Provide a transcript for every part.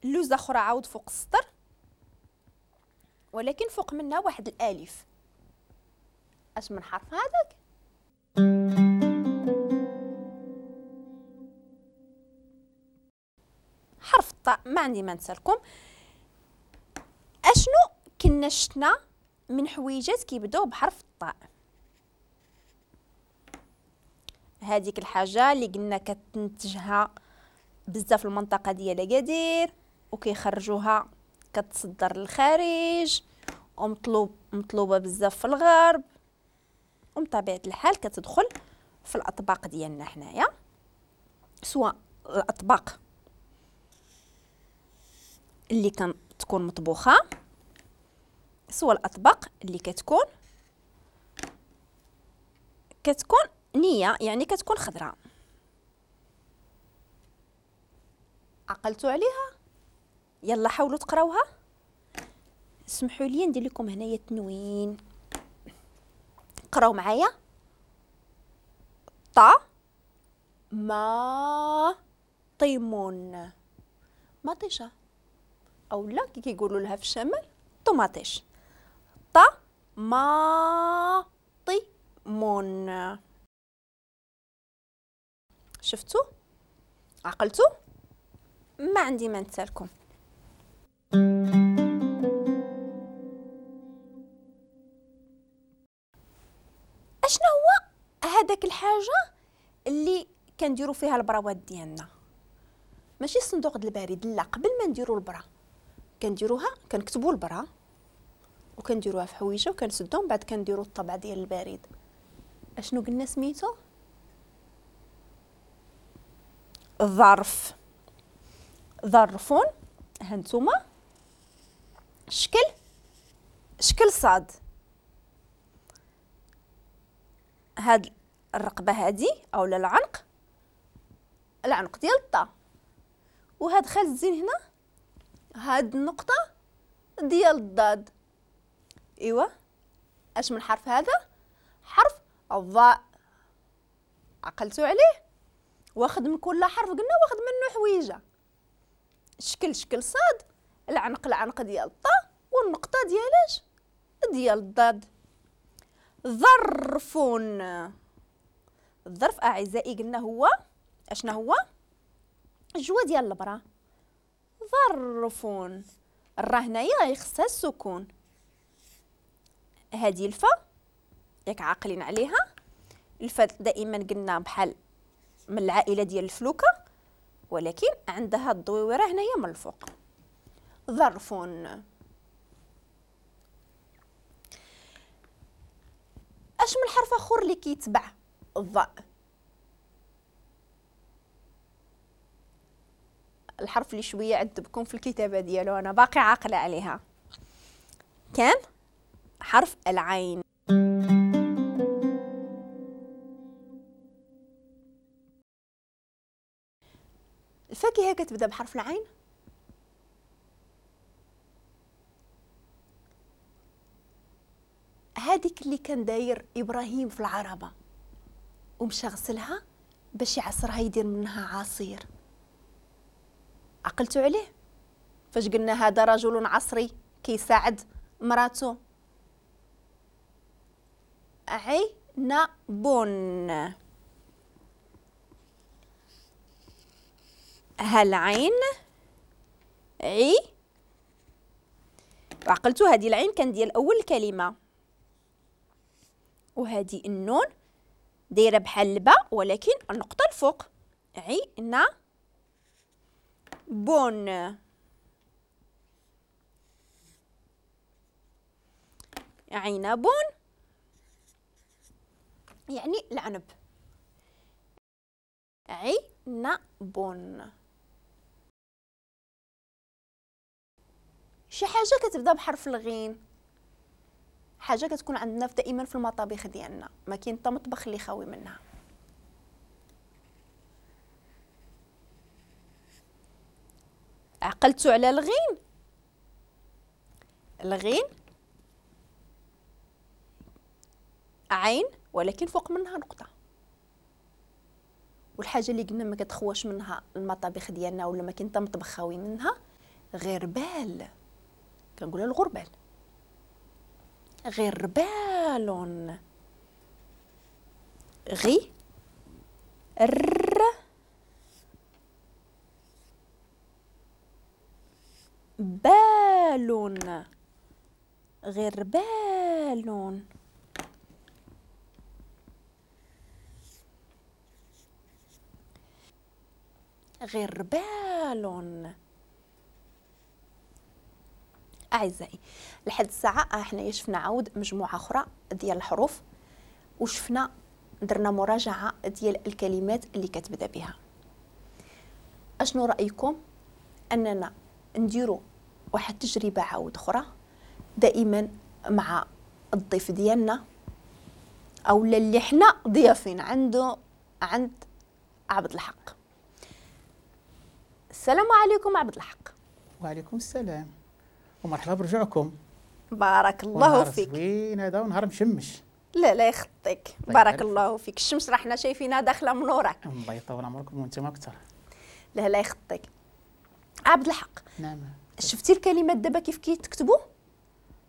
لوزه اخرى عاود فوق السطر ولكن فوق منها واحد الالف. اش من حرف هذاك؟ حرف الطاء. ما عندي ما نسالكم. اشنو كنا شفنا من حويجات كيبداو بحرف الطاء؟ هذيك الحاجة اللي قلنا كتنتجها بزاف المنطقة ديال اكادير وكيخرجوها كتصدر للخارج ومطلوبه بزاف في الغرب، وبطبيعة الحال كتدخل في الاطباق ديالنا حنايا، سواء الاطباق اللي كتكون مطبوخه سواء الاطباق اللي كتكون نيه، يعني كتكون خضراء. عقلتوا عليها؟ يلا حاولوا تقراوها. اسمحوا لي ندير لكم هنايا تنوين. قراو معايا. طا ما طيمون، مطيشه او لا كي كيقولوا لها في الشمال طوماطيش. طا ما طيمون. شفتوا؟ عقلتوا؟ ما عندي ما نسالكم. اشنو هو هذاك الحاجة اللي كنديروا فيها البراوات ديالنا؟ ماشي الصندوق ديال البريد، لا، قبل ما نديروا البرا كنديروها، كنكتبوا البرا وكنديروها في حويجه وكنسدوها، من بعد كنديروا الطبع ديال البريد. اشنو قلنا سميتو؟ ظرف. ظرف. هانتوما شكل صاد. هاد الرقبة هادي اولا العنق، العنق ديال الطا، وهاد خال الزين هنا هاد النقطة ديال الضاد. ايوا اش من حرف هذا؟ حرف الضاء. عقلتوا عليه؟ واخد من كل حرف قلنا واخد منه حويجه. شكل صاد، العنق العنق ديال الطا، والنقطة ديالاش؟ ديال الضاد. ظرف. الظرف اعزائي قلنا هو اشنا هو؟ الجوا ديال البرا. ظرف. الرا هنايا يخصها السكون. هذه الفا ياك عاقلين عليها؟ الفا دائما قلنا بحال من العائلة ديال الفلوكه، ولكن عندها الضويره هنايا من الفوق. ظرف. اش من حرف اخر اللي كيتبع الضاء؟ الحرف اللي شوية عذبكم في الكتابة ديالو، انا باقي عاقلة عليها، كان حرف العين. الفاكهة كتبدا بحرف العين. هذيك اللي كان داير ابراهيم في العربة ومشى غسلها باش يعصرها يدير منها عصير. عقلتوا عليه؟ فاش قلنا هذا رجل عصري كيساعد مراته. عنب. هالعين عي، وعقلتوا هذه العين كان ديال اول كلمة، وهذه النون دايرة بحال الباء ولكن النقطة الفوق. عي نا بون. عنب يعني العنب. عنب. شي حاجة كتبدا بحرف الغين، حاجة كتكون عندنا دائما في المطابخ ديالنا، ما كاين حتى مطبخ اللي خاوي منها. عقلتوا على الغين؟ الغين عين ولكن فوق منها نقطة. والحاجة اللي قلنا ما كتخواش منها المطابخ ديالنا ولا ما كاين حتى مطبخ خاوي منها غربال، كنقولها الغربال، غربال، غي ر بال، غربال. غربال. أعزائي، لحد الساعة حنايا شفنا عاود مجموعة أخرى ديال الحروف، وشفنا درنا مراجعة ديال الكلمات اللي كتبدا بها. أشنو رأيكم أننا نديرو واحد التجربة عاود أخرى دائما مع الضيف ديالنا أو اللي حنا ضيافين عنده، عند عبد الحق. السلام عليكم عبد الحق. وعليكم السلام ومرحبا برجوعكم. بارك الله فيك. زوين هذا ونهار مشمش. لا لا يخطيك، بارك الله فيك. الشمس راه حنا شايفينها داخله من وراك. الله يطول عمركم وانتم اكثر. لا لا يخطيك. عبد الحق. نعم. شفتي الكلمات دابا كيف كيتكتبوا؟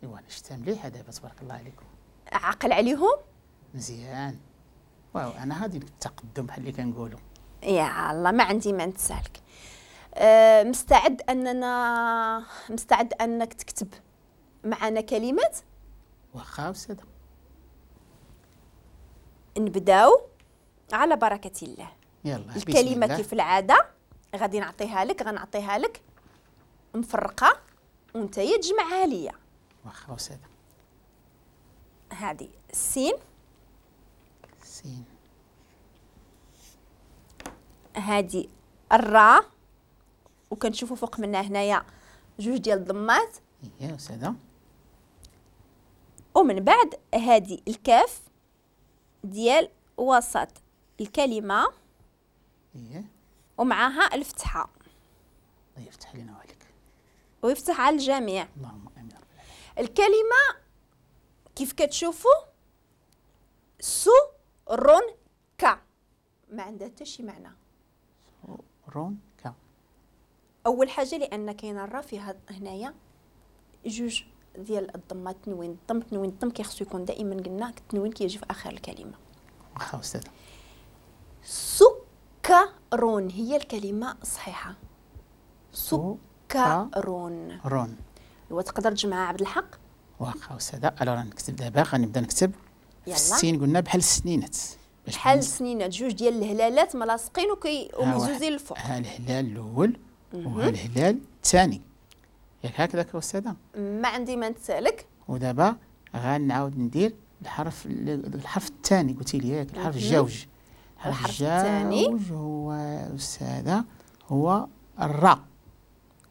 ايوا انا شفتها مليحة دابا تبارك الله عليكم. عقل عليهم؟ مزيان. واو انا هادي التقدم بحال اللي كنقولوا. يا الله ما عندي ما نتسالك. مستعد انك تكتب معنا كلمات؟ واخا استاذه. نبداو على بركة الله. يلا الكلمة كيف العادة غادي نعطيها لك، غنعطيها لك مفرقه وانت تجمعها ليا. واخا استاذه. هذه السين، سين، هذه الراء، وكنشوفوا فوق منها هنايا جوج ديال الضمات. اييه استاذه. ومن بعد هذه الكاف ديال وسط الكلمة. اييه. ومعها الفتحة. الله يفتح لنا وعليك ويفتح على الجميع. اللهم امين رب العالمين. الكلمة كيف كتشوفوا سو رون كا، ما عندها حتى شي معنى. سو رون كا. اول حاجة لان كاينه الرا فيها هنايا جوج ديال الضمات، تنوين الضم تنوين الضم كيخصو يكون دائما، قلنا التنوين كيجي في اخر الكلمة. واخا استاذه. سكرون هي الكلمة الصحيحة. سكرون. رون. وتقدر تجمعها عبد الحق؟ واخا استاذه. alors نكتب دابا، غنبدا نكتب. يلا. السين قلنا بحال السنينات. بحال السنينات، جوج ديال الهلالات ملاصقين ومهزوزين للفوق. ها الهلال الاول وها الهلال الثاني، ياك هكذاك استاذه؟ ما عندي ما نتسالك. ودابا غنعاود ندير الحرف الثاني، قلتي لي ياك الحرف الجوج. الحرف الثاني الجوج هو استاذه هو الراء.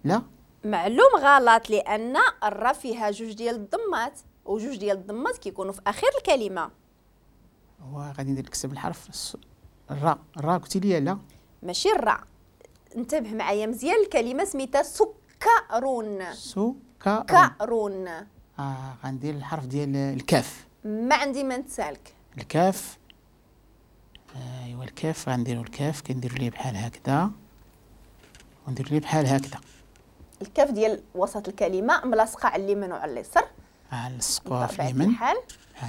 لا معلوم غلط، لان الراء فيها جوج ديال الضمات، وجوج ديال الضمات كيكونوا في اخر الكلمة. هو غادي ندير نكتب الحرف الراء. الراء قلتي لي لا ماشي الراء. انتبه معايا مزيان، الكلمة سميتها سكرون. سكرون. غندير الحرف ديال الكاف. ما عندي ما نتسالك. الكاف. ايوا الكاف غنديرو الكاف، كنديرو ليه بحال هكذا ونديرو ليه بحال هكذا. الكاف ديال وسط الكلمة ملاصقه على اليمين وعلى اليسار. نلصقوها في اليمين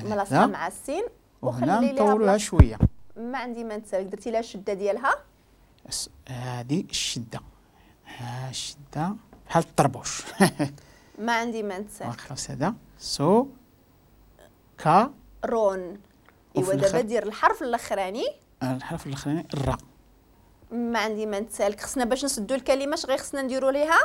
ملاصقه مع السين، وخلي ليها نطولوها شوية. ما عندي ما نتسالك. درتي لها الشدة ديالها. هذه الشدة، ها الشدة بحال الطربوش. ما عندي ما نتسالك. واخا استاذه. سو كا رون. ايوا دابا دير الحرف الاخراني. الحرف الاخراني الراء. ما عندي ما نتسالك. خصنا باش نسدو الكلمة اش غير خصنا نديرو ليها؟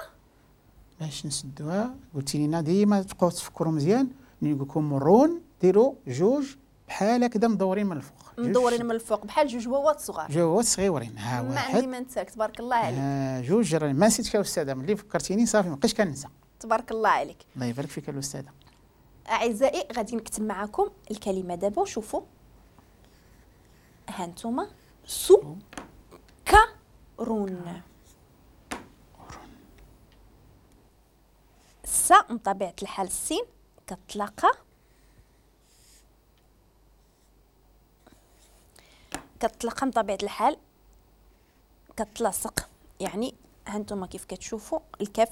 باش نسدوها قلتي لينا ديما تبقاو تفكروا مزيان. ملي نقول لكم رون ديروا جوج بحال هكذا مدورين من الفوق. مدورين من الفوق بحال جوج واوات صغار. جوج واوات صغيورين. ها واحد. ما عندي ما نتسالك تبارك الله عليك. جوج. راني ما نسيتك يا استاذه، ملي فكرتيني صافي ما بقيتش كننسى. تبارك الله عليك. الله يبارك فيك الاستاذة. اعزائي غادي نكتب معكم الكلمة دابا وشوفوا. ها انتما سو كرون. السا من طبيعة الحال السين كتلاقى من طبيعة الحال كتلاصق، يعني ها انتما كيف كتشوفوا الكاف